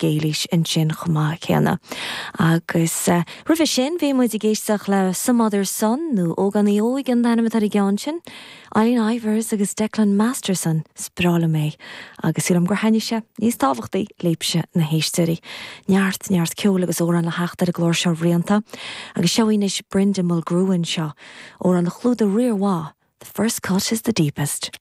Éilís ansin chomh maith céanna. Agus roimhe sin bhí muid ag éisteacht le Some Other Son, nó Ógánaí Óig an t-ainm atá ar an gceann sin, Eileen Ivers agus Declan Masterson, is breá liom é agus sílim gur thaitnigh sé, níos tábhachtaí, libhse na héisteoirí. Neart, neart ceoil agus amhrán le theacht ar an gclár seo rianta. Agus seo í anois Brenda Mulgrew anseo, amhrán a chlúdaigh riar mhaith, The First Cut is the Deepest.